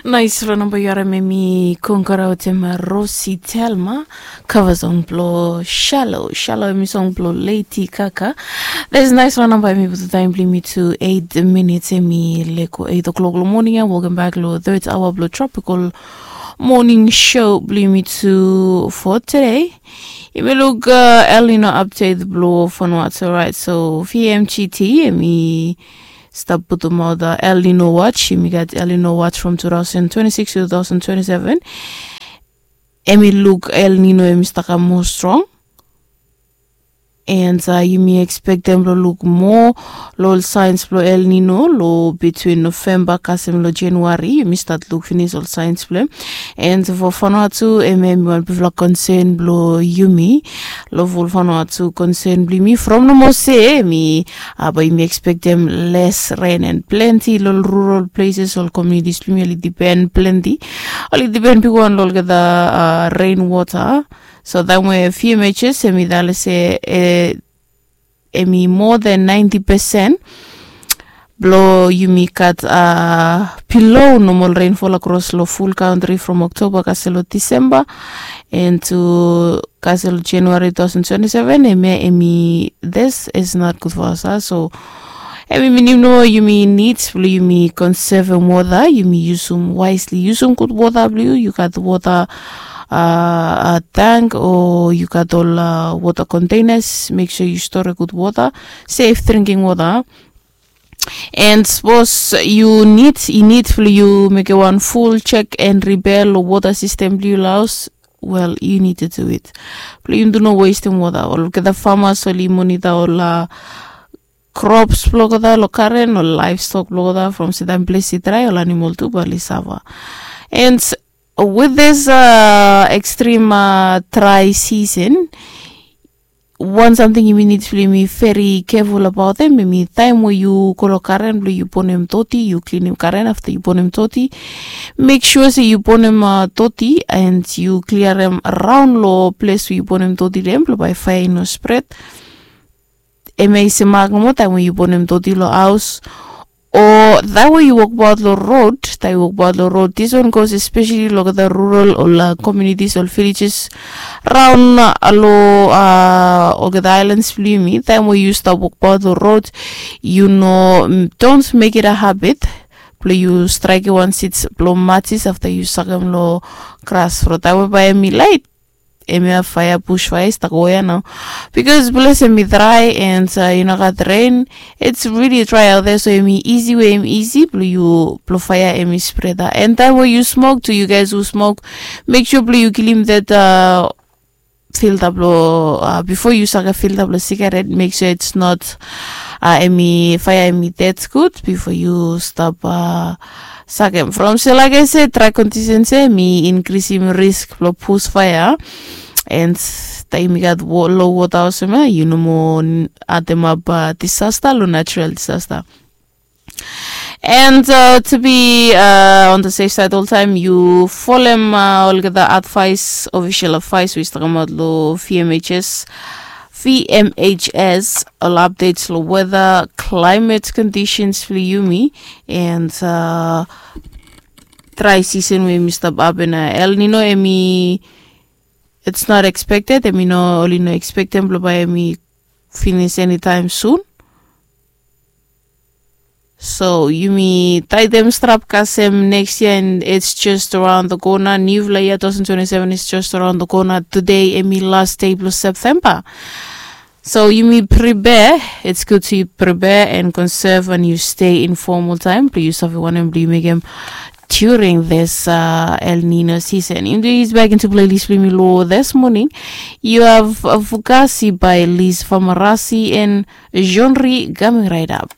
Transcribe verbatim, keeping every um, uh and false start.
Nais ran namba yu harim em i kongkara wetem Rosi Telma. Kava song blo Shallow. Shallow em i song blo Lady Gaga. This nais ran namba em i putu taim blo yumi tu eight minutes em i leko eight o'clock lo morning ya. Welcome back lo third hour blo Tropical Morning Show blo yumi tu for today. Yumi luk uh, El Nino update blo Vanuatu, right? So V M G T em i stap putumaot uh, El Nino watch. Yumi gat El Nino watch from two thousand twenty-six to two thousand twenty-seven. Em i luk El Nino em i stap kam moa strong. And uh, yumi expectem blo luk moa lo ol signs blo El Nino lo between November kasem lo January. Yumi start luk finis ol signs blo em. And for Vanuatu em em i wan bigfala concern blo yumi. Lo full Vanuatu concern blo yumi from nomo se em i uh, bae yumi expectem less rain and plenty lo ol rural places, ol communities blo yumi oli depend plenty, oli depend bigwan lo olgeta uh, rain water. So taim we V M H S em i talem se eh, em i more than ninety percent blo yumi gat uh, below normal rainfall across lo full country from October kasem lo December and to kasem lo January two thousand twenty-seven. Em ya em i, this is not good for us uh. So em i minim nomo yumi need blo yumi conservem water, yumi yusum wisely, yusum gud water blo yu. Yu gat water uh, uh, tank o yu gat ol uh, water containers, make sure yu store gud water, safe drinking water. And sapos yu need, yu need blo yu mekem wan full check and repair lo water system blo yu lo haos, well, you need to do it. Blo yumi tu no wastem water. Olgeta farmers oli monitor ol uh, crops blo olgeta lo karen, ol livestock blo olgeta, from se taim ples i dry ol animal tu bae oli suffer. And with this uh, extreme uh, dry season, wan samting yumi need blo yumi very careful about em, em i taim we yu go lo karen blo yu bonem doti, yu klinim karen afta yu bonem doti. Make sure se yu bonem uh, doti and yu kliarem raon lo ples we yu bonem doti lo em blo bae faea i no spread. Em ya i semak nomo taim we yu bonem doti lo haos o taim we yu wokbaot lo rod. Taim yu wokbaot lo rod, this one goes especially lo olgeta rural ol uh, communities, ol villages raon uh, lo uh, olgeta islands blo yumi. Taim we yu stap wokbaot lo rod, yu no, mm, don't make it a habit blo yu straekem wan seeds blo matches afta yu sakem lo gras. From taim we bae em i lait, em ya faea, bush faea i stap go ya nao. Because ples em i dry and uh, yu no gat rain, it's really dry out there. So em i easy we em i easy blo yu, blo faea em i spread. And taim we yu smoke tu, you guys who smoke, make sure blo yu kilim that uh, filter blo uh, before yu sakem filter blo sigaret, make sure it's not uh, em i, faea em i ded gud before yu stap uh, sakem. From se, like I said, dry conditions ya em i inkrisim risk blo bush faea. And taim i gat low water olsem ya, yu no moa ademap uh, disaster lo natural disaster. And uh, to be uh, on the safe side oltaim, yu folem uh, olgeta advice, official advice we i stap kamaot lo V M H S, V M H S, ol updates lo weather, climate conditions blo yumi, and uh, dry season we yumi stap hapen ya. El Nino em i, it's not expected, em i no, oli no expectem blo bae em i finis anytime soon. So yumi taetem strap kasem next year, and it's just around the corner. Niufala yia two thousand twenty-seven is just around the corner. Today em i last day blo September. So yumi prepare. It's good to prepare and conserve and yu stay informed oltaim blo yu save wanem blo yu mekem during this uh, El Nino season. Yumi tu ease back into playlist blo yumi lo this morning. You have uh, Fugazi by Liz Famarasi and Genre coming right up.